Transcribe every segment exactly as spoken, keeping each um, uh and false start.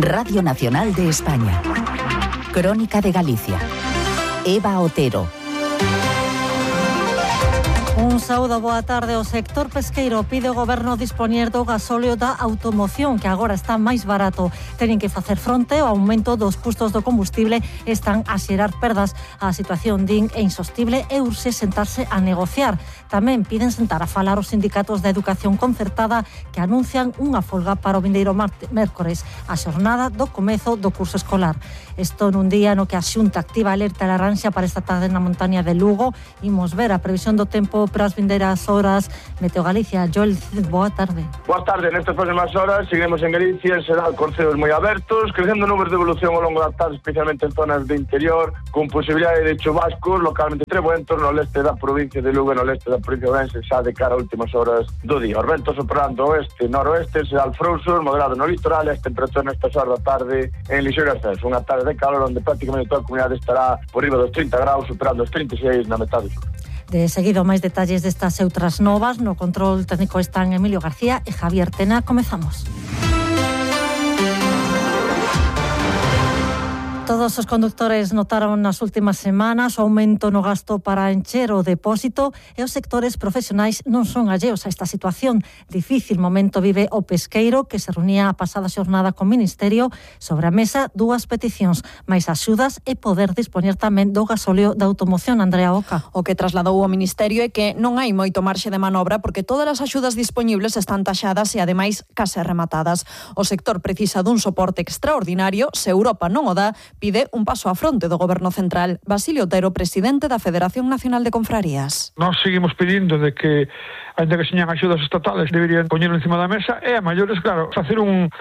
Radio Nacional de España. Crónica de Galicia. Eva Otero. Un saúdo, boa tarde. O sector pesqueiro pide ao goberno dispoñer do gasóleo da automoción, que agora está máis barato. Teñen que facer fronte ao aumento dos custos do combustible, están a xerar perdas. A situación, din, é insostible e urxe sentarse a negociar. Tamén piden sentar a falar os sindicatos da educación concertada, que anuncian unha folga para o vindeiro mércores, a xornada do comezo do curso escolar. Isto nun día no que a Xunta activa alerta laranxa para esta tarde na montaña de Lugo. Imos ver a previsión do tempo para as vindeiras horas. Meteo Galicia, Joel, boa tarde. Boa tarde, nestas próximas horas seguimos en Galicia, será con ceos moi abertos, crecendo nubes de evolución ao longo da tarde, especialmente en zonas de interior, con posibilidade de chubascos, localmente trebuentos no leste da provincia de Lugo e no leste da provincia de Ourense, xa de cara a últimas horas do día. Os ventos soprando oeste e noroeste, será alfrouxos, moderado no litoral, e as temperaturas nestas horas da tarde en lixeiro ascenso. Unha tarde de calor onde prácticamente toda a comunidade estará por riba dos trinta graus, superando os trinta e seis na metade sur. De seguido, máis detalles destas e outras novas. No control técnico están Emilio García e Javier Tena. Comezamos. Todos os condutores notaron nas últimas semanas o aumento no gasto para encher o depósito e os sectores profesionais non son alleos a esta situación. Difícil momento vive o pesqueiro, que se reunía a pasada xornada co Ministerio. Sobre a mesa, dúas peticións, máis axudas e poder dispoñer tamén do gasóleo da automoción. Andrea Oca. O que trasladou o Ministerio é que non hai moito marxe de manobra porque todas as axudas dispoñibles están taxadas e ademais case rematadas. O sector precisa dun soporte extraordinario. Se Europa non o dá, pide un paso a fronte do Goberno Central. Basilio Otero, presidente da Federación Nacional de Confrarías. Nós seguimos pedindo de que, ainda que señan axudas estatales, deberían poñerlo encima da mesa, e a maiores, claro, facer un,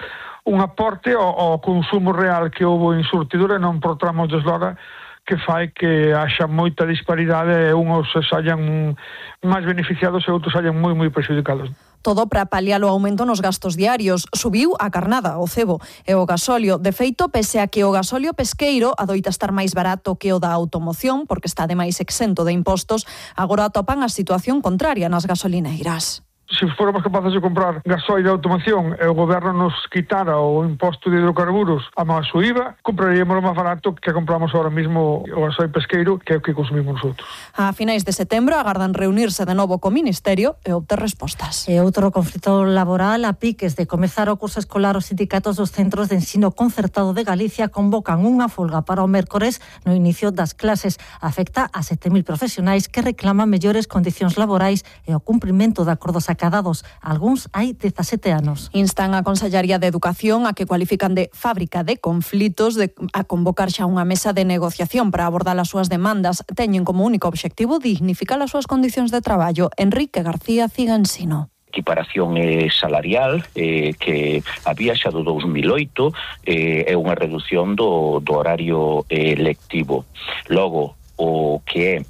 un aporte ao, ao consumo real que houve en surtidura, non por tramos de eslora, que fai que haxa moita disparidade e uns saian máis beneficiados e outros saian moi, moi prexudicados. Todo para paliar o aumento nos gastos diarios. Subiu a carnada, o cebo e o gasóleo. De feito, pese a que o gasóleo pesqueiro adoita estar máis barato que o da automoción, porque está ademais exento de impostos, agora atopan a situación contraria nas gasolineiras. Se fóramos capaces de comprar gasoil de automoción e o goberno nos quitara o imposto de hidrocarburos a máis o I V A, compraríamos o máis barato que compramos ahora mismo o gasoil pesqueiro, que é o que consumimos nosotros. A finais de setembro agardan reunirse de novo co Ministerio e obter respostas. E outro conflito laboral, a piques de comezar o curso escolar, os sindicatos dos centros de ensino concertado de Galicia convocan unha folga para o mércores no inicio das clases. Afecta a sete mil profesionais que reclaman mellores condicións laborais e o cumprimento de acordos acadados. Algúns hai dezasete anos. Instan a Consellaría de Educación a que cualifican de fábrica de conflitos de, a convocar xa unha mesa de negociación para abordar as súas demandas. Teñen como único obxectivo dignificar as súas condicións de traballo. Enrique García Cigansino. Equiparación eh, salarial eh, que había xa do dous mil oito eh, é unha reducción do, do horario eh, lectivo. Logo, o que é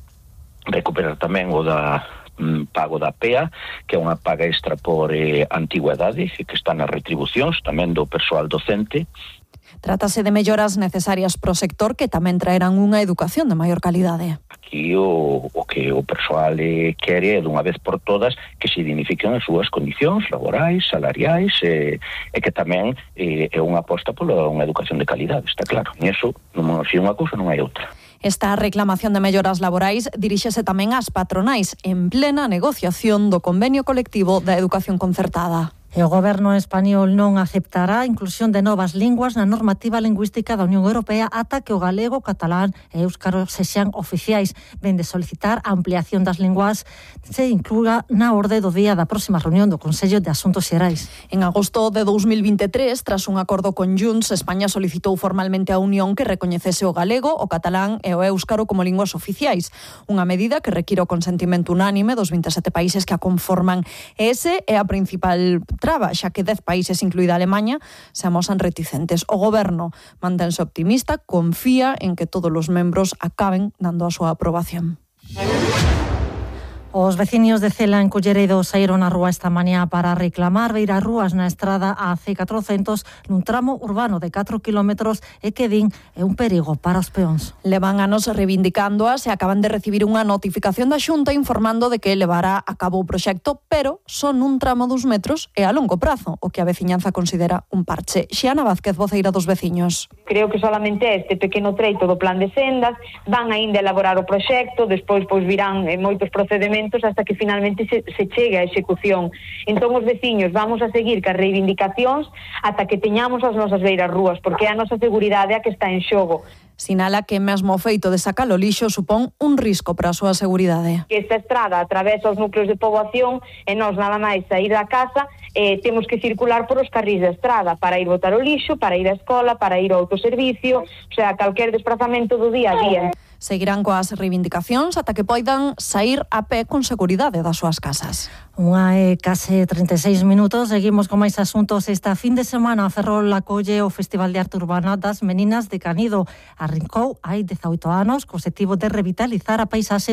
recuperar tamén o da pago da P E A, que é unha paga extra por eh, antigüedade, que está nas retribucións tamén do persoal docente. Trátase de melloras necesarias pro sector que tamén traerán unha educación de maior calidade. Aquí o, o que o persoal eh, quere é dunha vez por todas que se dignifiquen as súas condicións laborais, salariais eh, e que tamén eh, é unha aposta pola unha educación de calidade, está claro. E iso, non se unha cousa, non hai outra. Esta reclamación de melloras laborais diríxese tamén ás patronais en plena negociación do convenio colectivo da educación concertada. E o goberno español non aceptará a inclusión de novas linguas na normativa lingüística da Unión Europea ata que o galego, o catalán e éuscaro sexan oficiais. Ven de solicitar a ampliación das linguas se incluga na orde do día da próxima reunión do Consello de Asuntos Xerais. En agosto de dous mil vinte e tres, tras un acordo con Junts, España solicitou formalmente á Unión que recoñecese o galego, o catalán e o éuscaro como linguas oficiais. Unha medida que require o consentimento unánime dos vinte e sete países que a conforman. E ese é a principal traba, xa que dez países, incluída Alemanha, se amosan reticentes. O goberno mantense optimista, confía en que todos os membros acaben dando a súa aprobación. Os veciños de Cela en Culleredo saíron á rúa esta mañá para reclamar beiras rúas na estrada A C catrocentos nun tramo urbano de catro kilómetros e que din é un perigo para os peóns. Levan anos reivindicándoas e acaban de recibir unha notificación da Xunta informando de que levará a cabo o proxecto, pero son un tramo dos metros e a longo prazo, o que a veciñanza considera un parche. Xiana Vázquez, voceira dos veciños. Creo que solamente este pequeno treito do plan de sendas van aínda elaborar o proxecto, despois pois virán eh, moitos procedimentos hasta que finalmente se, se chegue a execución. Entón os veciños vamos a seguir cas reivindicacións ata que teñamos as nosas beiras rúas, porque é a nosa seguridade a que está en xogo. Sinala que mesmo o feito de sacar o lixo supón un risco para a súa seguridade. Que esta estrada atravesa os núcleos de poboación e nós nada máis sair da casa eh, temos que circular por os carrís da estrada para ir botar o lixo, para ir á escola, para ir ao autoservicio, o sea, calquer desplazamento do día a día. Seguirán coas reivindicacións ata que poidan sair a pé con seguridade das súas casas. Unha e case trinta e seis minutos, seguimos con máis asuntos. Esta fin de semana Ferrol acolle o Festival de Arte Urbana das Meninas de Canido. Arrincou hai dezaoito anos co obxectivo de revitalizar a paisaxe